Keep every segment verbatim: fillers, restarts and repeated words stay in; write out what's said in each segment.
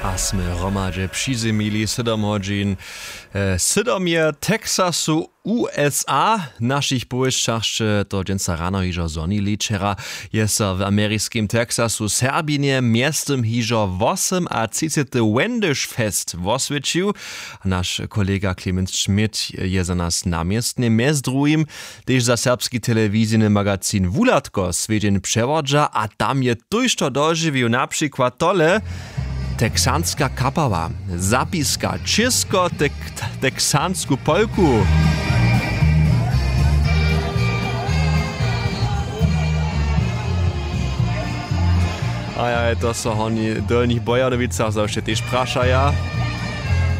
A smy hromadźe přizymili sydom hodźin. Sydom je texasu, usa. W našich powěsćach sće to dźensa rano hižo zhonili. Wčera je so w ameriskim texasu serbinje mjeztym hižo wosymatřicety wendish fest woswědčił. Naš kolega clemens schmidt je za nas na městnje mjez druhim tež za serbski telewizijny magazin wuhladko swjedźeń přewodźa a tam je tójšto dožiwił na přikład tole. Texanska kapała zapiska čěsko, texansku polku. Ajaj, to so honi w dolnich bojanowicach zawše tež prašaja,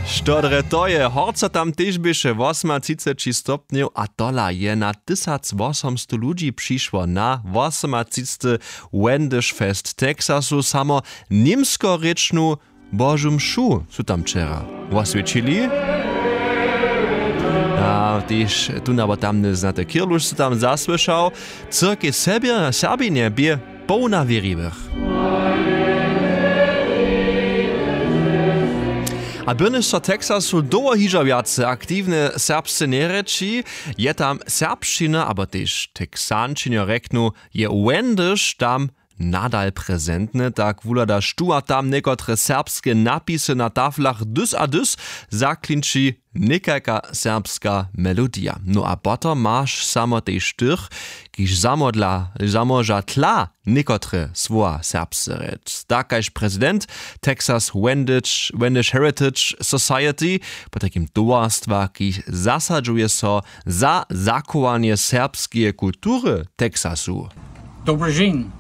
što drje to je. Horco tam tež běše wosomatřiceći stopnjow a tola je na tysac wosomstow ludźi přišło na wosomatřicety wendish fest texasu. Samo němskorěčnu božu mšu su tam wčera woswjećili. A tež tón abo tamny znaty kirluš su tam zasłyšał. Cyrkej serbinje bě połna wěriwych. A byrnjež so texasu dołho hižo wjace aktiwne serbsce njerěči, je tam serbšćina abo tež texančenjo rjeknu je wendyš tam nadal prezentne. Tak wuhladaš tu a tam někotre serbske napisy na taflach dys a dys zaklinči někajka serbska melodija. No a potom maš samo tež tych, kiž zamodla tla někotre słowa serbsce rěc tak kaž prezident texas wendish heritage society, potajkim towarstwa kiž zasadźuje so za zachowanje serbskeje kultury texasu. Dobrožin.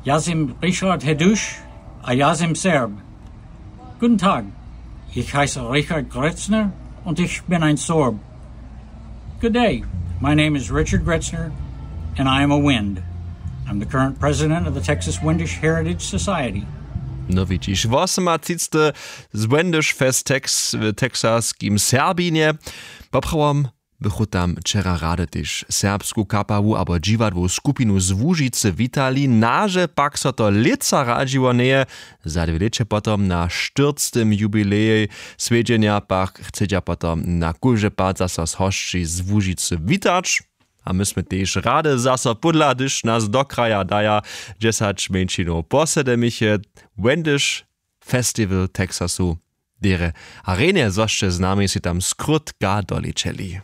Ja sim richard heduš, a ja sim serb. Guten tag. Ich heise richard gretzner, und ich bin ein sorb. Good day. My name is richard gretzner, and I am a wind. I'm the current president of the texas windish heritage society. No widźiš wosomatřicte z wendish fest tex w texaskim serbinje. Poprawom bychu tam wčera rady tež serbsku kapawu abo dźiwadłu skupinu z łužicy witali naže pak so to lětsa radźiło njeje. Za dwě lěće potom na štyrctym jubilejej swjedźenja pak chcedźa potom na kóždy pad zaso z hosći z łužicy witać. A my smy tež rady zaso pódla hdyž nas do kraja daja dźesać mjeńšinow posedemiche wendyš festiwal texasu derje. A rjenje zo sće z nami sej tam skrótka dolećeli.